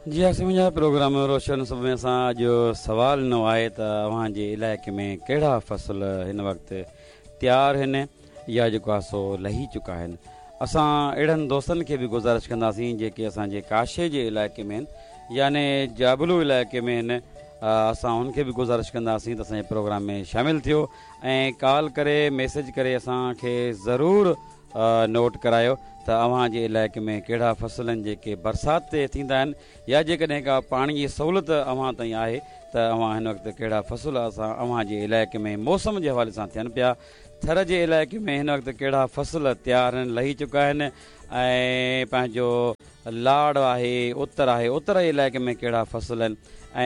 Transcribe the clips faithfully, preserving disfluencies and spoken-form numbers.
جي ها سمجها پروگرام روشن صبح ۾ اسان اڄ سوال ڏنو آهي ته اوهان جي علائقي ۾ ڪهڙا فصل هن وقت تيار آهن يا جيڪو آهي سو لهي چڪا آهن. اسان اهڙن دوستن کي به گذارش ڪنداسين جيڪي اسان جي ڪاشي جي علائقي ۾ آهن يعني جابلو علائقي ۾ آهن، اسان ان کي به گذارش ڪنداسين ته اسان جي پروگرام ۾ شامل ٿيو ۽ ڪال ڪري ميسيج ڪري اسان کي ضرور نوٽ ڪرايو ته اوهان جي علائقي ۾ ڪهڙا فصل آهن جيڪي برسات تي ٿيندا آهن يا جيڪڏهن ڪا پاڻي جي سهولت اوهان تائين آهي ته اوهان هن وقت ڪهڙا فصل اسان اوهان جي علائقي ۾ موسم جي حوالي سان ٿين پيا. ٿر جي علائقي ۾ هن وقت ڪهڙا فصل تيار آهن، لهي چڪا آهن ۽ پنهنجو لاڙ آهي، اتر آهي، اتر جي علائقي ۾ ڪهڙا فصل آهن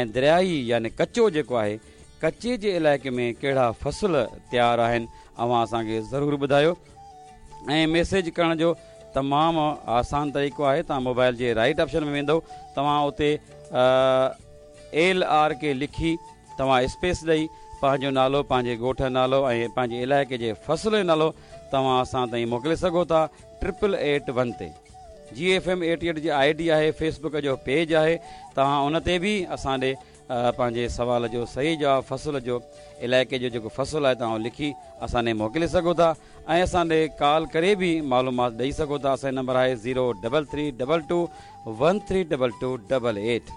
۽ دريائي يعني ڪچو جيڪو آهي ڪچي جي علائقي ۾ ڪهڙا فصل تيار آهن، اوهان اسان کي ضرور ٻڌايو. ۽ ميسيج ڪرڻ جو تمام آسان طريقو آهي، توهان موبائل جي رائيٽ آپشن ۾ ويندو، توهان اتي ايل آر ڪي لکي توهان اسپيس ڏئي پنهنجو نالو، پنهنجي ڳوٺ جو نالو ۽ پنهنجي علائقي جي فصل جو نالو توهان اسان تائين موڪلي سگهو ٿا ٽرپل ايٽ ون تي. جي ايف ايم ايٽي ايٽ جي I D آهي، فيس بڪ جو پيج آهي، توهان ان تي به اسان ڏي پنهنجي سوال جو صحيح جواب فصل جو علائقي جو جيڪو فصل آهي توهان لکي اسان ڏي موڪلي سگهو ٿا ۽ اسان ڏي ڪال ڪري به معلومات ڏئي سگهو ٿا. اسان جو نمبر آهي zero double three double two one three double two double eight.